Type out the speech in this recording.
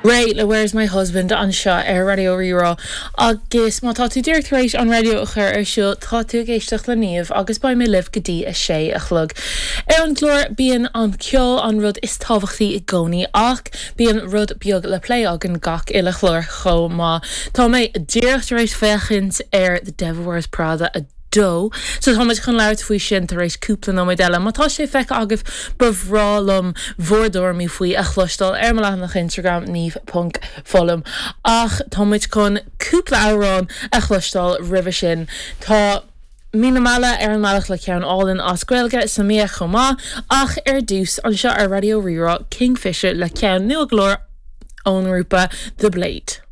Réidh le Where's My Husband anseo ar Raidió Rí-Rá agus má tá tú díreach tar éis an raidió a chur ar siúl tá tú ag éisteacht le Niamh agus beidh mé libh go dtí a sé a chlog. Ar an gclár bíonn an ceol an rud is tábhachtaí i gcónaí ach bíonn rud beag le plé againn gach uile chlár chomh maith. Tá mé díreach tar éis féachaint ar The Devil Wears Prada 2. So tá muid chun labhairt faoi sin tar éis cúpla nóiméad eile. Má tá sé feicthe agaibh, ba bhreá liom bhur dtuairimí faoi a chloisteáil ar mo leathanach Instagram, niamh ponc foghlaim. Ach tá muid chun cúpla amhrán a chloisteáil roimhe sin. Tá Mí na Meala ar an mbealach le ceann álainn as Gaeilge, Samia chomh maith, ach ar dtús, anseo ar Raidió Rí-Rá, Kingfisher le ceann nua go leor ón ngrúpa The Blade.